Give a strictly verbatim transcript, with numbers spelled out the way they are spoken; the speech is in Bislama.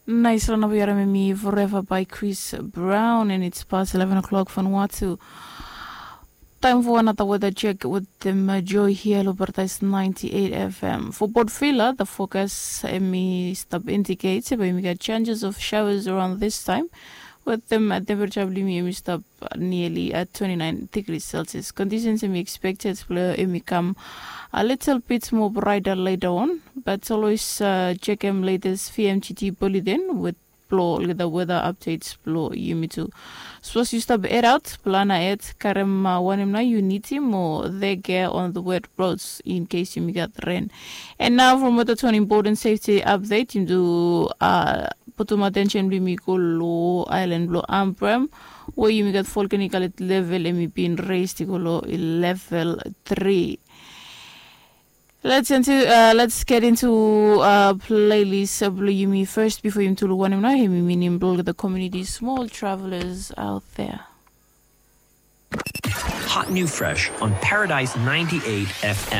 Nais long naba yu harim em i Forever by Chris Brown, and it's past eleven o'clock from Vanuatu. Time for another weather check with them uh, Joy here lo Paradise ninety-eight F M. For Port Vila, the forecast em i stap indicate se bae yumi gat chances of showers around this time. With them uh, temperature blo yumi em i stap nearly at twenty-nine degrees Celsius. Conditions em i expected blo em i kam a little bit more brighter later on, but always uh, check em latest V M G T bulletin with blo olgeta weather updates blo yumi tu. Sapos yu stap head out, plan ahead, karem uh, wanem nao yu nidim o degea on the wet roads in case yumi gat rain. And now from weather to an important safety update, yumi tu uh, putum attention blo yumi go lo island blo Ambrym, we yumi gat volcanic alert level em i bin raised i go lo level three. Let's into uh, let's get into uh, playlist uh, blo yumi first before yumi tu lo wanem nao em i minim blo the community small travelers out there. Hot new fresh on Paradise ninety-eight F M.